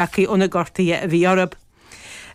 Tagtha ó na gortuithe a bhí orthu.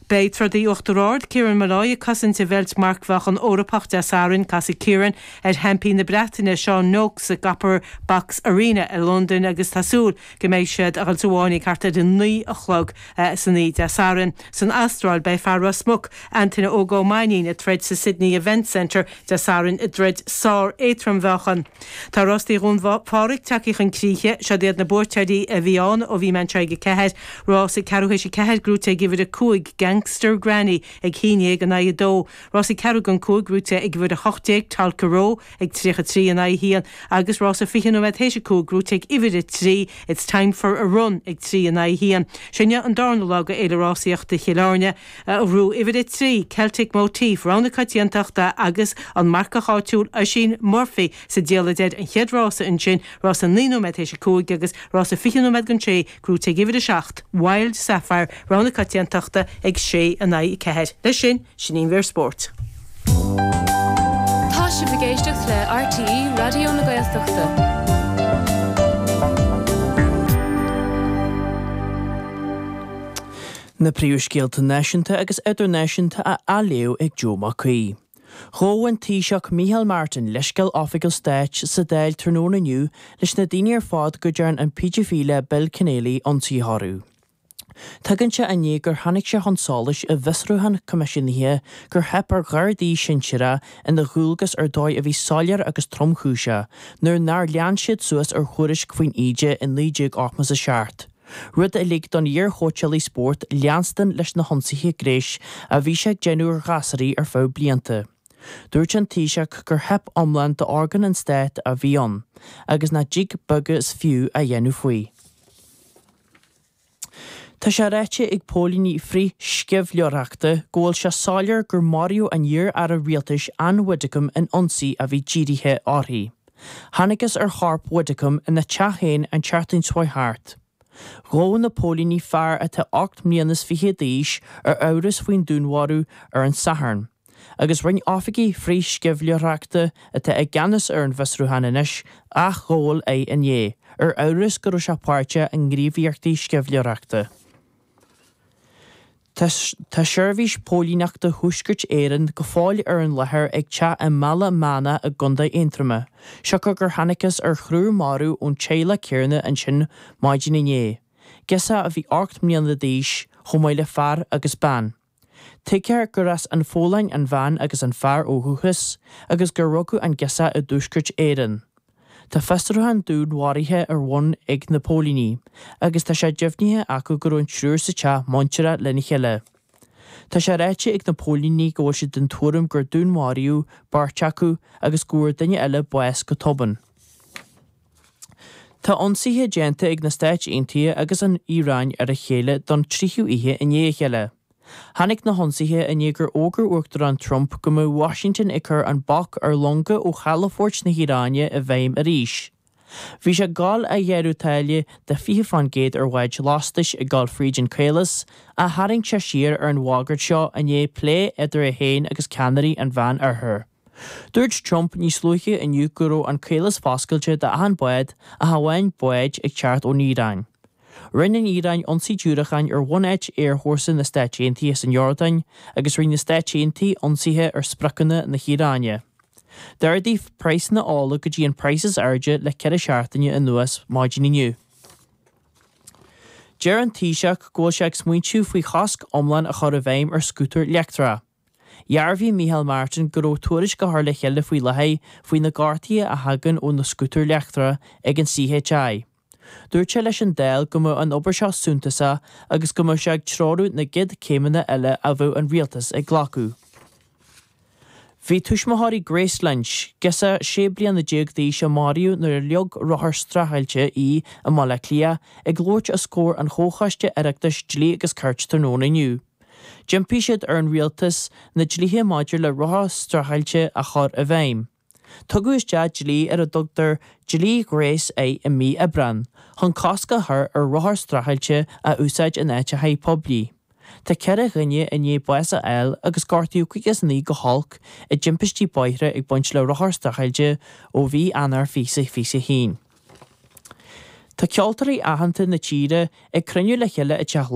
Beidh trodaí Uachtar Ard, Kieran Molloy ag cosaint a bheilt marcmheáchan Eorpach Dé Sathairn. Casfaidh Kieran ar sheaimpín na Breataine, Sean Noakes sa gCopper Box Arena i Londain agus tá súil go mbeidh siad a dhul sa bhfáinne ag thart ar a 9 a chlog san oíche Dé Sathairn. San Astráil beidh fear Ros Muc, Antaine Óg Ó Mainnín ag troid sa Sydney Event Centre Dé Sathairn i dtroid sár-éadrom-mheáchan. Tá Rástaí Dhún Phádraig tagtha chun críche. Siod iad na buaiteoirí a bhí ann ó bhí mé anseo ag a 4. Rás ag ceathrú théis a 4 gnóite ag uimhir 5, Gangster Granny, ag 11 in aghaidh 2. Rás ag ceathrú don 5 gnóite ag uimhir 18, Tolka Row, ag 33 in aghaidh 1. Agus rás ag 20 nóiméad théis a 5 gnóite ag uimhir 3, It's Time For A Run, ag 3 in aghaidh 1. Sin é an darna lá de Fhéile Rásaíochta Chill Airne. Ghnóthaigh uimhir 3, Celtic Motif, rogha na coitiantachta agus an marcach áitiúil Oisín Murphy sa diallait air an chéad rása ansin, rása 9 nóiméad théis a 5 agus rása 20 nóiméad don 6, gnóite ag uimhir 7, Wild Sapphire, rogha na coitiantachta ag 6 in aghaidh 4. Leis sin, sin í an mhír spóirt. Tá sibh ag éisteacht le RTÉ Raidió na Gaeltachta. Na príomhscéalta náisiúnta agus idirnáisiúnta á léamh ag Joe Mac Aoidh. Ghabh an Taoiseach Micheál Martin leithscéal oifigiúil stáit sa Dáil tráthnóna inniu leis na daoine ar fad go dtearn an péidifileach Bill Kenneally ionsaithe orthu. Tagann sé i ndiaidh gur tháinig sé chun solais i bhfiosrúchán coimisiúnaithe gur theip ar ghardaí sinsearacha ina ndualgas ar dóigh a bhí soiléir agus tromchúiseach nuair nár lean siad suas ar thuairisc faoin íde i 1987. rud a lig don iar-chóitseálaí spóirt leanstan leis na hionsaithe gnéis a bhí sé ag déanamh ar ghasúraí ar feadh blianta. Dúirt an Taoiseach gur theip iomlán d'orgáin an stáit a bhí ann agus nach dtig beag is fiú a dhéanamh faoi. Tá sé ráite ag póilíní frith-sceimhlitheoireachta go bhfuil sé soiléir gur maraíodh an iar-aire rialtais Ann Widdecombe in ionsaí a bhí dírithe uirthi. Thángthas ar chorp Widdecombe ina teach féin an tseachtain seo thart. Ghabh na póilíní fear atá 28 mbliana d'aois ar amhras faoin dúnmharú ar an Satharn, agus rinne oifigigh frith-sceimhlitheoireachta atá i gceannas ar an bhfiosrúchán anois athghabháil é inné, ar amhras go raibh sé páirteach i ngníomhaíochtaí sceimhlitheoireachta. Tá Seirbhís Póilíneachta Thuaisceart Éireann go fóill ar an láthair ag teach i mBaile Meánach i gContae Aontroma, siocair gur thángthas ar thriúr marbh ón teaghlach céanna ansin maidin inné, girseach a bhí 8 mbliana d'aois, chomh maith le fear agus bean. Tuigtear gur as an Pholainn an bhean agus an fear ó dhúchas agus gur rugadh an girseach i dTuaisceart Éireann. Tá fiosrúchán dúnmharaithe ar bun ag na póilíní agus tá sé deimhnithe acu go raibh an triúr sa teach muinteartha lena chéile. Tá sé ráite ag na póilíní go bhfuil siad den tuairim gur dúnmharaíodh beirt acu agus go bhfuair duine eile bás go tobann. Tá ionsaithe déanta ag na Stáit Aontaithe agus an Iaráin ar a chéile don tríú oíche i ndiaidh a chéile. Tháinig na hionsaithe i ndiaidh gur fhógair Uachtarán Trump go mbeadh Washington ag cur an bac ar longa ó chalafoirt na hIaráine i bhfeidhm arís. Bhí sé ag gabháil a ghearradh táille de 20% ar bháid lastais ag gabháil fríd an caolas, ach tharraing sé siar ar an bhagairt seo i ndiaidh plé idir é féin agus ceannairí an Mheán-Oirthir. Dúirt Trump níos luaithe inniu go raibh an caolas foscailte d'achan bád ach amháin báid ag teacht ón Iaráin. Rinne an Iaráin ionsaí diúracáin ar bhunáit aerfhórsa na Stáit Aontaithe san Iordáin agus rinne na Stáit Aontaithe ionsaithe ar spriocanna na hIaráine. D'ardaigh praghsanna ola go dtí an praghas is airde le 4 seachtaine anuas maidin inniu. Deir an Taoiseach go bhfuil sé ag smaointiú faoi chosc iomlán a chur i bhfeidhm ar scútair leictreacha. Dhearbhaigh Micheál Martin go raibh tuairisc á chur le chéile faoi láthair faoi na gortuithe a thagann ó na scútair leictreacha ag an CHI. Dúirt sé leis an Dáil go mbeadh an obair seo suntasach agus go mbeadh sé ag treorú na gcéad céimeanna eile a bheadh an rialtas ag glacadh. Bhí tuismitheoirí Grace Lynch, girseach 16 bliana d'aois a maraíodh nuair a leag rothar streachailte í i mBaile Átha Cliath, ag labhairt os comhair an Chomhchoiste Oireachtais Dlí agus Cirt tráthnóna inniu. D'impigh siad ar an rialtas na dlíthe maidir le rothair streachailte a chur i bhfeidhm. Tugadh isteach dlí ar a dtugtar Dlí Grace I i mí Aibreán, chun cosc a chur ar rothair streachailte a úsáid in áiteacha poiblí. Tá 4 dhuine i ndiaidh bás a fháil agus gortaíodh 59 go holc i dtimpistí bóithre ag baint le rothair streachailte ó mhí Eanáir 2021. Tá ceoltóirí aitheanta na tíre ag cruinniú le chéile i dTeach Laighean.